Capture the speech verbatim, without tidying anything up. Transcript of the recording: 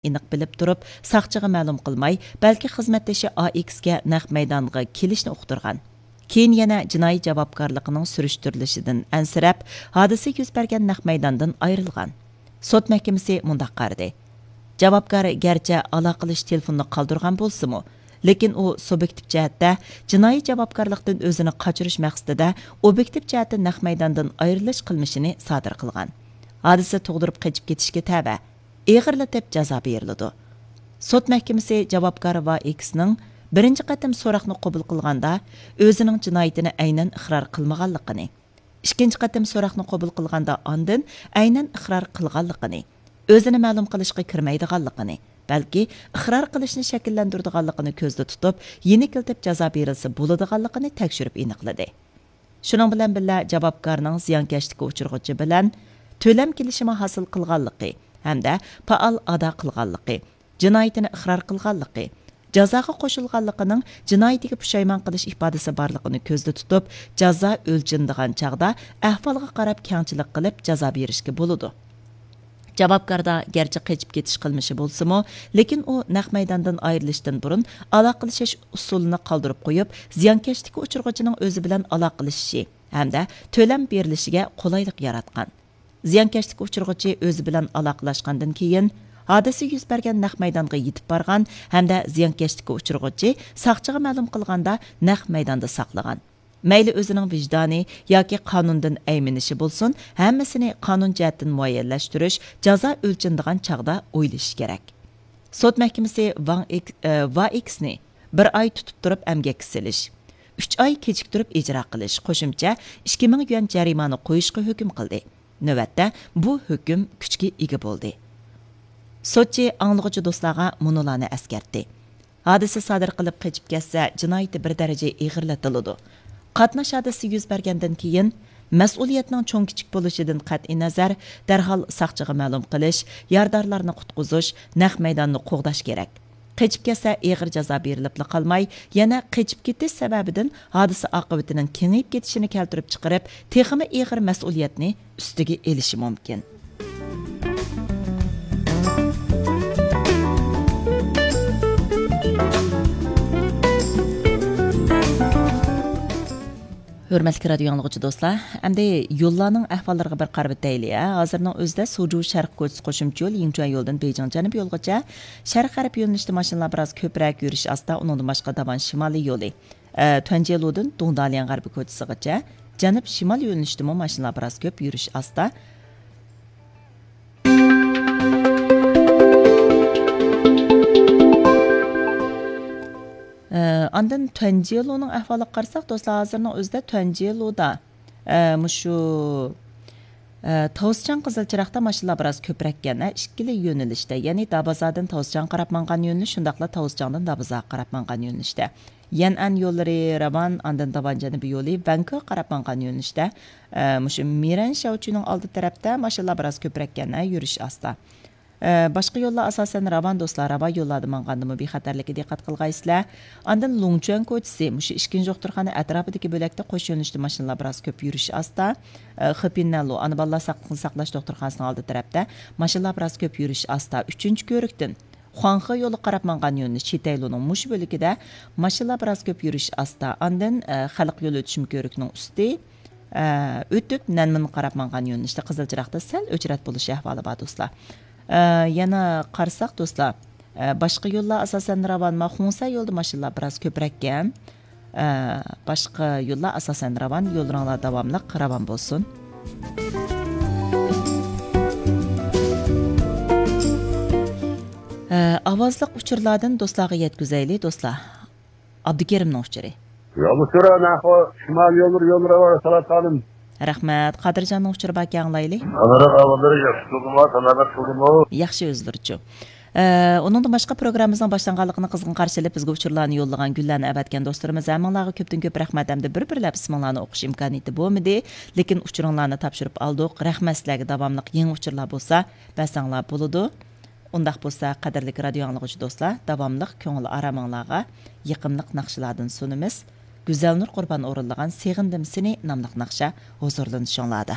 ئېنىق بىلىپ تۇرۇپ، ساقچىغا مەلۇم قىلماي، بەلكى خىزمەتدىشى ئا ئېكسكە نەق مەيدانغا كېلىشنى ئۇقتۇرغان. كېيىن يەنە جىنايى جاۋابكارلىقىنىڭ سۈرۈشتۈرۈلۈشىدىن ئەنسىرەپ، ھادىسە يۈز بەرگەن نەق مەيداندىن ئايرىلغان. سوت مەھكىمىسى مۇنداق قارىدى: جاۋابكار گەرچە ئالاقىلىشىش تېلېفونىنى قالدۇرغان بولسىمۇ، لېكىن ئۇ سۇبيېكتىپ جەھەتتە جىنايى جاۋابكارلىقتىن ئۆزىنى قاچۇرۇش مەقسىتىدە ئوبيېكتىپ جەھەتتە نەق مەيداندىن ئايرىلىش قىلمىشىنى سادىر قىلغان. ھادىسە تۇغدۇرۇپ قېچىپ كېتىشكە تەۋە، ئېغىرلىتىپ جازا بېرىلىدۇ. سوت مەھكىمىسى جاۋابكار ۋا ئېكسنىڭ بىرىنچى قېتىم سوراقنى قوبۇل قىلغاندا، ئۆزىنىڭ جىنايىتىنى ئەينەن ئىقرار قىلمىغانلىقىنى، ئىككىنچى قېتىم سوراقنى قوبۇل قىلغاندا ئاندىن ئەينەن ئىقرار قىلغانلىقىنى، ئۆزىنى مەلۇم قىلىشقا كىرمەيدىغانلىقىنى، بەلكى ئىقرار قىلىشنى شەكىللەندۈرىدىغانلىقىنى كۆزدە تۇتۇپ، يېنىكلىتىپ جازا بېرىلسە بولىدىغانلىقىنى تەكشۈرۈپ ئېنىقلىدى. شۇنىڭ بىلەن بىللە، جاۋابكارنىڭ زىيانكەشلىككە ئۇچرىغۇچى بىلەن تۆلەم كېلىشىمى ھاسىل قىلغانلىقى ھەمدە پائال ئادا قىلغانلىقى، جىنايىتىنى ئىقرار قىلغانلىقى، جازاغا قوشۇلغانلىقىنىڭ جىنايىتىگە پۇشايمان قىلىش ئىپادىسى بارلىقىنى كۆزدە تۇتۇپ، جازا ئۆلچىنىدىغان چاغدا ئەھۋالغا قاراپ كەڭچىلىك قىلىپ جازا بېرىشكە بولىدۇ. جاۋابكاردا گەرچە قېچىپ كېتىش قىلمىشى بولسىمۇ، لېكىن ئۇ نەق مەيداندىن ئايرىلىشتىن بۇرۇن ئالاقىلىشىش ئۇسۇلىنى قالدۇرۇپ قويۇپ، زىيانكەشلىككە ئۇچرىغۇچىنىڭ ئۆزى بىلەن ئالاقىلىشىشى ھەمدە تۆلەم بېرىلىشىگە قولايلىق ياراتقان. زىيانكەشلىككە ئۇچرىغۇچى ئۆزى بىلەن ئالاقىلاشقاندىن كېيىن، ھادىسە يۈز بەرگەن نەق مەيدانغا يېتىپ بارغان ھەمدە زىيانكەشلىككە ئۇچرىغۇچى ساقچىغا مەلۇم قىلغاندا نەق مەيداندا ساقلىغان. مەيلى ئۆزىنىڭ ۋىجدانى ياكى قانۇندىن ئەيمىنىشى بولسۇن، ھەممىسىنى قانۇن جەھەتتىن مۇئەييەنلەشتۈرۈش، جازا ئۆلچىنىدىغان چاغدا ئويلىشىش كېرەك. سوت مەھكىمىسى ۋاڭ ئېك-، ئە، ۋا ئېكسنى بىر ئاي تۇتۇپ تۇرۇپ ئەمگەككە سېلىش، ئۈچ ئاي كېچىكتۈرۈپ ئىجرا قىلىش، قوشۇمچە ئىككى مىڭ يۈەن جەرىمانە قويۇشقا ھۆكۈم قىلدى. نۆۋەتتە بۇ ھۆكۈم كۈچكە ئىگە بولدى. سوتچى ئاڭلىغۇچى دوستلارغا مۇنۇلارنى ئەسكەرتتى. ھادىسە سادىر قىلىپ قېچىپ كەتسە، جىنايىتى بىر دەرىجە ئېغىرلىتىلىدۇ. قاتناش ھادىسىسى يۈز بەرگەندىن كېيىن، مەسئۇلىيەتنىڭ چوڭ-كىچىك بولۇشىدىن قەتئىينەزەر، دەرھال ساقچىغا مەلۇم قىلىش، يارىدارلارنى قۇتقۇزۇش، نەق مەيداننى قوغداش كېرەك. قېچىپ كەتسە، ئېغىر جازا بېرىلىپلا قالماي، يەنە قېچىپ كېتىش سەۋەبىدىن ھادىسە ئاقىۋىتىنىڭ كېڭىيىپ كېتىشىنى كەلتۈرۈپ چىقىرىپ، تېخىمۇ ئېغىر مەسئۇلىيەتنى ئۈستىگە ئېلىشى مۇمكىن. ھۆرمەتلىك رادىيو ئاڭلىغۇچى دوستلار، ئەمدى يوللارنىڭ ئەھۋاللىرىغا بىر قارىۋېتەيلى، ھە. ھازىرنىڭ ئۆزىدە سۇجۇ شەرق كوچىسى قوشۇمچە يول، يىڭچۈەن يولىدىن بېيجىڭ جەنۇبىي يولغىچە شەرق غەرب يۆنىلىشتە ماشىنىلار بىراز كۆپرەك يۈرۈش ئاستا، ئۇنىڭدىن باشقا داۋان شىمالىي يولى، ئە، تۈەنجيېلۇدىن دۇڭداليەن غەربىي كوچىسىغىچە جەنۇب شىمال يۆنىلىشتىمۇ ماشىنىلار بىراز كۆپ يۈرۈش ئاستا. ئە، ئاندىن تۈەنجيېلۇنىڭ ئەھۋالىغا قارىساق، دوستلار، ھازىرنىڭ ئۆزىدە تۈەنجيېلۇدا، ئە، مۇشۇ، ئە، تاۋزچاڭ قىزىل چىراغدا ماشىنىلار بىراز كۆپرەككەن، ئە، ئىككىلا يۆنىلىشتە، يەنى دابازادىن تاۋزچاڭغا قاراپ ماڭغان يۆنىلىش، شۇنداقلا تاۋزچاڭدىن دابازاغا قاراپ ماڭغان يۆنىلىشتە. يەنئەن يوللىرى، راۋان، ئاندىن داۋان جەنۇبىي يولى، ۋەنكۆگە قاراپ ماڭغان يۆنىلىشتە، ئە، مۇشۇ مىرەن شياۋچۈنىڭ ئالدى تەرەپتە ماشىنىلار بىراز كۆپرەككەن، ئە، يۈرۈش ئاستا. ئە، باشقا يوللار ئاساسەن راۋان دوستلار، راۋان يوللاردا ماڭغاندىمۇ بىخەتەرلىككە دىققەت قىلغايسىلەر. ئاندىن لۇڭچۈەن كوچىسى، مۇشۇ ئىككىنچى دوختۇرخانا ئەتراپىدىكى بۆلەكتە قوش يۆنىلىشتە ماشىنىلار بىراز كۆپ يۈرۈش ئاستا. ئە، خېپىننەنلۇ ئانا بالىلار ساقلىقنى ساقلاش دوختۇرخانىسىنىڭ ئالدى تەرەپتە ماشىنىلار بىراز كۆپ يۈرۈش ئاستا. ئۈچىنچى كۆۋرۈكتىن خۇاڭخې يولىغا قاراپ ماڭغان يۆنىلىش چىتەيلۇنىڭ مۇشۇ بۆلىكىدە ماشىنىلار بىراز كۆپ يۈرۈش ئاستا. ئاندىن، ئە، خەلق يولى ئۆتۈشمە كۆۋرۈكنىڭ ئۈستى، ئە، ئۆتۈپ، نەنمىنغا قاراپ ماڭغان يۆنىلىشتە قىزىل چىراغدا سەل ئۆچرەت بولۇش ئەھۋالى بار، دوستلار. ئە، يەنە قارىساق، دوستلار، ئە، باشقا يوللار ئاساسەن راۋانما، خۇڭسەن يولىدا ماشىنىلار بىراز كۆپرەككەن. ئە، باشقا يوللار ئاساسەن راۋان، يوللىرىڭلار داۋاملىق راۋان بولسۇن. ئە، ئاۋازلىق ئۇچۇرلاردىن دوستلارغا يەتكۈزەيلى، دوستلار. ئابدۇكېرىمنىڭ ئۇچۇرى. يول ئۇچۇرى، ناخو، شىمال يوللىرى، يوللىرى بار، سالات خانىم. رەھمەت. قادىرجاننىڭ ئۇچۇرى باركەن، ئاڭلايلى. ئانىراق ئاۋازلىرى ياخشى تۇردىمۇ، سالامەت تۇردىمۇ؟ ياخشى، ئۆزلىرىچۇ؟ ئە، ئۇنىڭدىن باشقا، پروگراممىمىزنىڭ باشلانغانلىقىنى قىزغىن قارشى ئېلىپ، بىزگە ئۇچۇرلارنى يوللىغان، گۈللەرنى ئەۋەتكەن دوستلىرىمىز ھەممىڭلارغا كۆپتىن كۆپ رەھمەت ھەمدە بىر-بىرلەپ ئىسمىڭلارنى ئوقۇش ئىمكانىيىتى بولمىدى. لېكىن ئۇچۇرۇڭلارنى تاپشۇرۇپ ئالدۇق. رەھمەت سىلەرگە، داۋاملىق يېڭى ئۇچۇرلار بولسا بەرسەڭلار بولىدۇ. ئۇنداق بولسا، قەدىرلىك رادىيو ئاڭلىغۇچى دوستلار، داۋاملىق كۆڭۈل ئارامىڭلارغا يېقىملىق ناخشىلاردىن سۇنىمىز. گۈزەلنۇر قۇربان ئورۇنلىغان سېغىندىم سېنى ناملىق ناخشا ھۇزۇرلىنىشىڭلاردا.